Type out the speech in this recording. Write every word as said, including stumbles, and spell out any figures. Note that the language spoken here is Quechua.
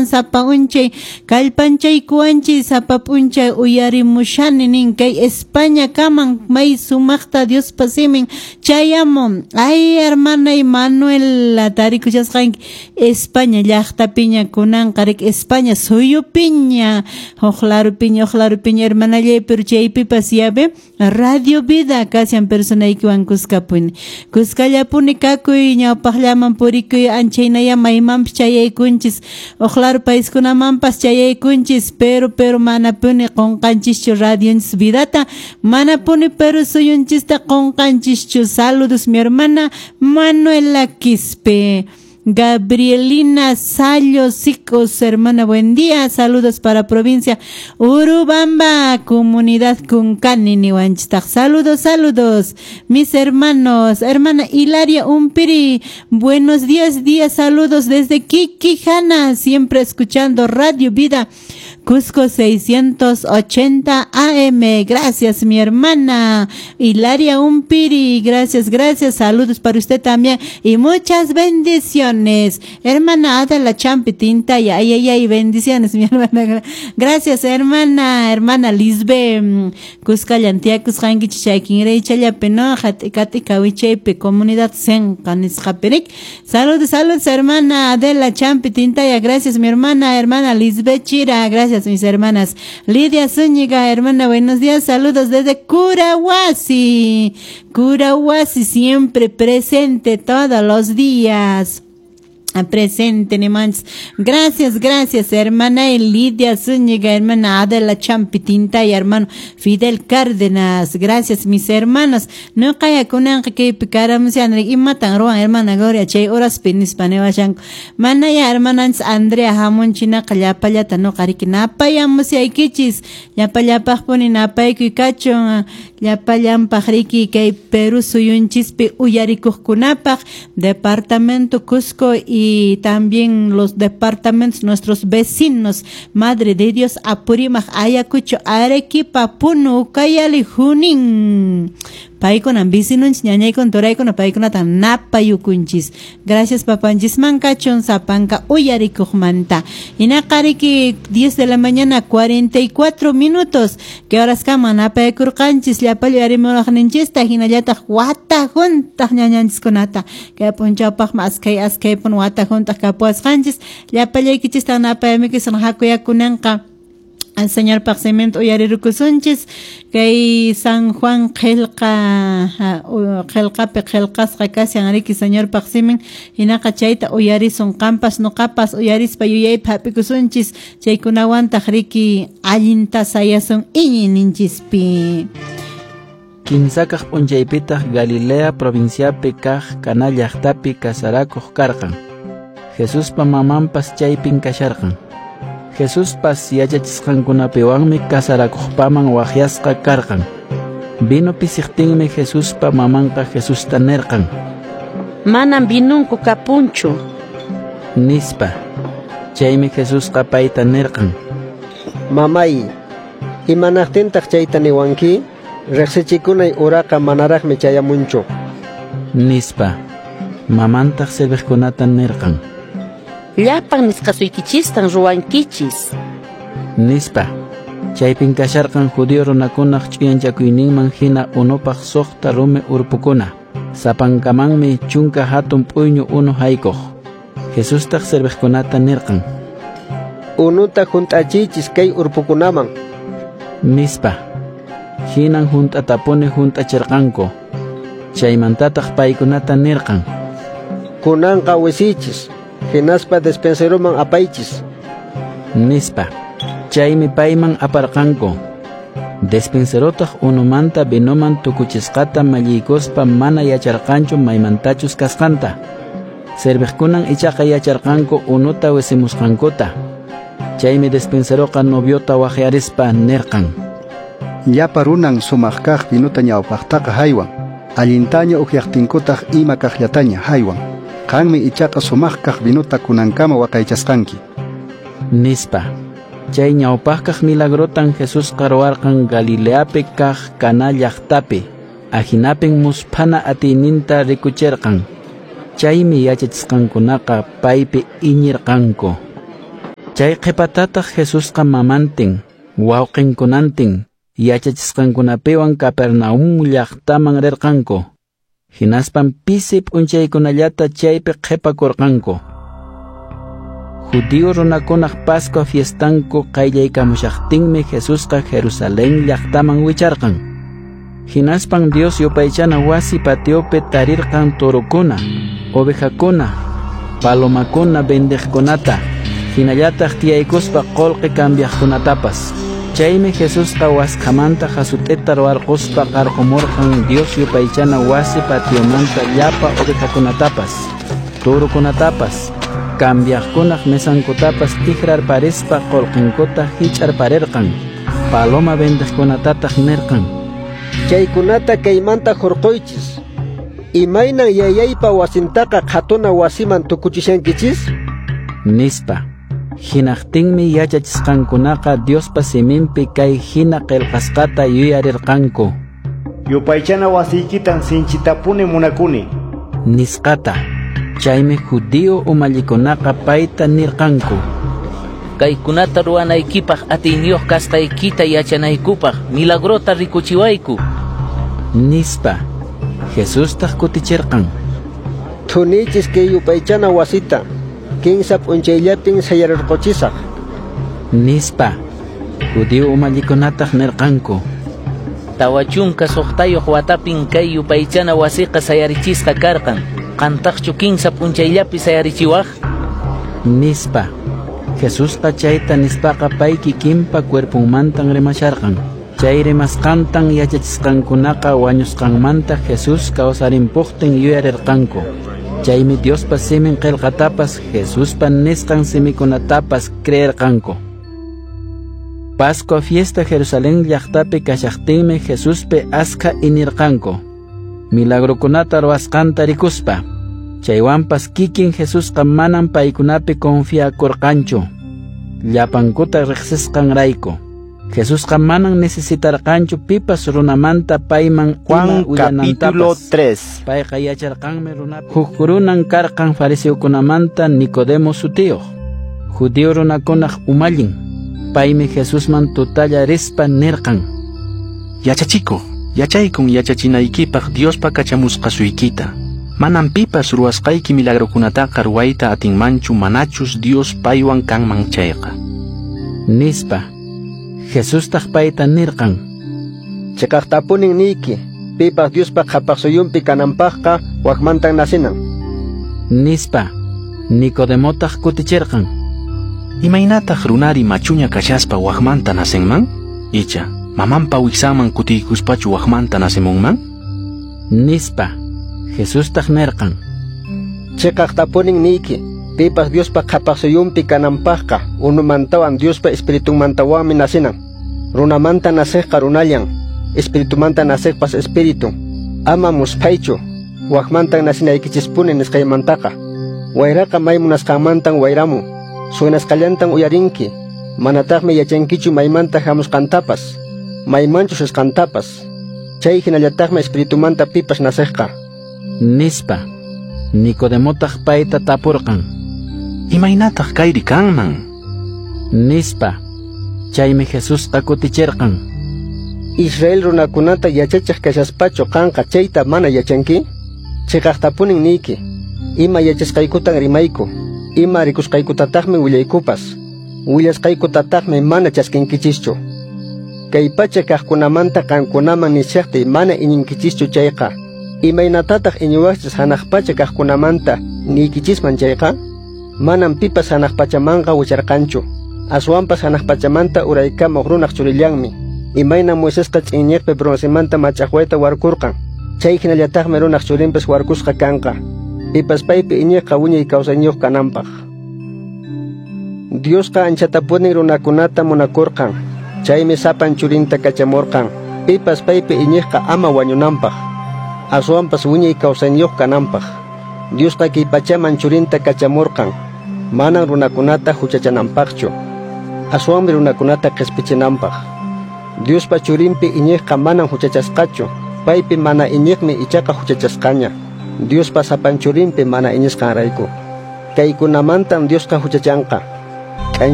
Sapa unchay kallpanchaykuwanchis sapa p'unchay uyarimushani nin kay España kaman may sumaqta Diospa simin chayamun. Ay, hermana Manuela, tarikushasqanki España llaqtapiña kunanqa rik España suyupiña huk larupiña huk larupiña hermanallay, pero chaypipas yabe Radio Vida kashan personaykiwan kuskapuni kuskallapuni kakuy ñawpaqllaman purikuy anchaynaya maymanpas chayaykunchis huk laru paiskunamanpas chayaykunchis, pero pero manapuni qunqanchischu radionchis vidata, manapuni Perú suyunchista qunqanchischu. Saludos mi hermana Manuela Quispe. Gabrielina Sayo Sicos, hermana, buen día. Saludos para provincia Urubamba, comunidad Cuncani, Nihuanchitaq. Saludos, saludos, mis hermanos. Hermana Hilaria Umpiri, buenos días, días, saludos desde Quiquijana, siempre escuchando Radio Vida Cusco seiscientos ochenta A M. Gracias, mi hermana Hilaria Umpiri. Gracias, gracias. Saludos para usted también y muchas bendiciones. Hermana Adela Champi Tintaya, ay, ay, ay, bendiciones, mi hermana. Gracias, hermana, hermana Lisbe, Cuscallantia, Cusjanguich, Chayquinrey, Chayape, no, Jaticati, Cawichaype, comunidad Senca, Nisjaperik. Saludos, saludos, hermana Adela Champi Tintaya. Gracias, mi hermana, hermana Lisbe Chira. Gracias, mis hermanas. Lidia Zúñiga, hermana, buenos días. Saludos desde Curahuasi. Curahuasi siempre presente todos los días. Presente, Nemans. Gracias, gracias, hermana Lidia Zúñiga, hermana Adela Champi Tintaya, hermano Fidel Cárdenas. Gracias, mis hermanos. No kaya kunan kay pikaram siya imatan ruan hermana Gloria chay horas pinis panewashanko. Manaya hermanans Andrea hamunchina kallapallata no kariki napayamusaykichis. Llapallapaqpuni napaykuy kachun llapallanpaq riki kay Perú suyunchispi uyarikuqkunapaq departamento Cusco y y también los departamentos, nuestros vecinos. Madre de Dios, Apurímac, Ayacucho, Arequipa, Puno, Ucayali, Junín. Paykuna vicinunchis, ñañaykuna, turaykuna, paykunata napayukunchis. Gracias papanchisman kachun sapanka uyarikuqmanta. Hinaqariki diez de la mañana cuarenta y cuatro minutos. Que horas kama napaykurqanchis llapallu yarimuwaqninchista hinallataq wata juntaq ñañanchiskunata. Kay p'unchawpaqmi askay askaypun wata juntaq kapuwasqanchis. Llapallaykichista napayamikisan hakuyakunanqa. Al Señor paqsimento uyarirukusunchis kay San Juan qillqa qillqapi qillqasqa kashan riki Señor paqsimin hinaqa chayta uyarisun qampas nuqapas uyarispa yuyaypi hap'ikusunchis chaykunawantaq riki allinta sayasun iñiyninchispi. Kinsakaq p'unchaypitaq Galilea provinciapi kaq Caná llaqtapi kasarakuq karqan. Jesuspa mamanpas chaypin kasharqan. Jesuspas yachachisqankunapiwanmi kasarakuqpaman waqyasqa karqan. Vino pisiqtinmi Jesuspa mamanqa Jesusta nirqan: Manam vinunku kapunchu, nispa. Chaymi Jesusqa payta nirqan: Mamay, imanaqtintaq chayta niwanki? Riqsichikunay uraqa manaraqmi chayamunchu, nispa. Mamantaq serviqkunata nirqan: Llapan nisqasuykichistan ruwankichis, nispa. Chaypin kasharqan judío runakunaq ch'uyanchakuyninman hina unupaq suqta rumi urpukuna. Sapankamanmi chunka hatun p'uyñu unu haykuq. Jesustaq serviqkunata nirqan: Unuta hunt'achiychis kay urpukunaman, nispa. Hinan hunt'atapuni hunt'achirqanku. Chaymantataq paykunata nirqan: Kunanqa wisiychis, hinaspa despenseroman apaychis, nispa. Chaymi payman aparqanku. Despenserotaq unumanta vinoman tukuchisqata malliykuspa mana yacharqanchu maymantachus kasqanta. Serviqkunan ichaqa yacharqanku unuta wisimusqankuta. Chaymi despenseroqa noviota waqyarispa nirqan: Llapa runan sumaq kaq vinuta ñawpaqtaqa haywan, allintaña ukyaqtinkutaq ima kaqllataña haywan. Qanmi ichaqa sumaq kaq vinuta kunankama waqaychasqanki, nispa. Chay ñawpaqkaq milagrotan Jesusqa ruwarqan Galileapi kaq Caná llaqtapi. Ahinapin musphana atiyninta rikuchirqan. Chaymi yachachisqankunaqa paypi iñirqanku. Chay qhipatataq Jesusqa mamantin, wawqinkunantin, yachachisqankunapiwan Capernaum llaqtaman rirqanku. Hinaspan pisi p'unchaykunallata chaypi qhipakurqanku. Judío runakunaq Pascua fiestanku qayllaykamushaqtinmi Jesusqa Jerusalén llaqtaman wicharqan. Hinaspan Dios yupaychana wasi patiopi tarirqan torokuna, ovejakuna, palomakuna vendeqkunata, hinallataq tiyaykuspa qullqi cambiaqkunatapas. Chaymi Jesusqa waskhamanta hasut'ita ruwarquspa qarqumurqan Dios yupaychana wasi patiomanta llapa ovejakunatapas, turukunatapas, cambiaqkunaq mesankutapas tikrarparispa qullqinkuta hich'arparirqan. Paloma vendeqkunatataq nirqan: Chaykunata kaymanta hurquychis. Imaynan yayaypa wasintaqa qhatuna wasiman tukuchishankichis? Nispa. Hinaqtinmi yachachisqankunaqa Diospa siminpi kay hina qillqasqata yuyarirqanku: Yupaychana wasiykitan sinchitapuni munakuni, nisqata. Chaymi judío umallikunaqa payta nirqanku: Kaykunata ruwanaykipaq atiyniyuq kasqaykita yachanaykupaq milagrota rikuchiwayku, nispa. Jesustaq kutichirqan: Thunichis kay yupaychana wasita, kinsa p'unchayllapin sayarirquchisaq, nispa. Judío umallikunataq nirqanku: Tawa chunka suqtayuq watapin kay yupaychana wasiqa sayarichisqa karqan. Qantaqchu kinsa p'unchayllapi sayarichiwaq? Nispa. Jesusqa chayta nispaqa pay kikinpa cuerponmantan rimasharqan. Chay rimasqantan yachachisqankunaqa wañusqanmanta Jesús kawsarimpuqtin yuyarirqanku. Chaymi Diospa simin qillqatapas Jesuspa nisqan simikunatapas creerqanku. Pascua fiesta Jerusalén llaqtapi kashaqtinmi Jesuspi askha inirqanku, milagrokunata ruwasqanta rikuspa. Chaywanpas kikin Jesusqa manan paykunapi confiakurqanchu, llapankuta riqsisqanrayku. Jesusqa manan necesitarqanchu pipas runamanta payman Juan capítulo tres. Payqa yacharqanmi runapi. Huk runan karqan fariseokunamanta Nicodemo sutiyuq, judío runakunaq umallin. Paymi Jesusman tutalla rispa nirqan: Yachachikuq, yachaykun yachachinaykipaq Diospa kachamusqasuykita. Manan pipas ruwasqayki milagrokunataqa ruwayta atinmanchu manachus Dios paywan kanman chayqa, nispa. Jesustaq payta nirqan: Chiqaqtapunin niyki, pipas Diospa qhapaqsuyunpi kananpaqqa wakmantan nasinan, nispa. Nicodemotaq kutichirqan: Imaynataq runari machuña kashaspa wakmanta nacenman? Icha, mamanpa wiksanman kutiykuspachu wakmanta nacemunman? Nispa. Jesustaq nirqan: Chiqaqtapunin niyki, pipas Diospa qhapaqsuyunpi kananpaqqa unumantawan Diospa espiritunmantawanmi nasinan. Runamanta nasiqqa runallan, espiritumanta nasiqpas espíritu. Ama musphaychu, wakmantan nasinaykichispuni nisqaymantaqa. Wayraqa may munasqanmantan wayramun, suynasqallantan uyarinki, manataqmi yachankichu maymanta hamusqantapas, maymanchus risqantapas. Chay hinallataqmi espiritumanta pipas nasiqqa, nispa. Nicodemotaq payta tapurqan: Imaynataq kayri kanman? Nispa. Chaymi Jesusqa kutichirqan: Israel runakunata yachachiq kashaspachu qanqa chayta mana yachanki? Chiqaqtapunin niyki, ima yachasqaykutan rimayku, ima rikusqaykutataqmi willaykupas, willasqaykutataqmi mana chaskinkichischu. Kay pacha kaqkunamanta qankunaman nishaqtiy mana iñinkichischu chayqa, imaynatataq iñiwaqchis hanaq pacha kaqkunamanta niykichisman chayqa? Manam pipas hanaq pachamanqa wicharqanchu, aswanpas hanaq pachamanta uraykamuq runaq churillanmi. Imaynan Moisesqa ch'inñiqpi broncemanta mach'aqwayta warkurqan, chay hinallataqmi runaq churinpas warkusqa kanqa, pipas paypi iñiqqa wiñay kawsayniyuq kananpaq. Diosqa anchatapunin runakunata munakurqan, chaymi sapan churinta kachamurqan, pipas paypi iñiqqa ama wañunanpaq, aswanpas wiñay kawsayniyuq kananpaq. Diosqa kay pachaman churinta kachamurqan, manan runakunata huchachananpaqchu, aswanmi runakunata qispichinanpaq. Diospa churinpi iñiqqa manan huchachasqachu, paypi mana iñiqmi ichaqa huchachasqaña, Diospa sapan churinpi mana iñisqanrayku. Kaykunamantam Diosqa huchachanqa.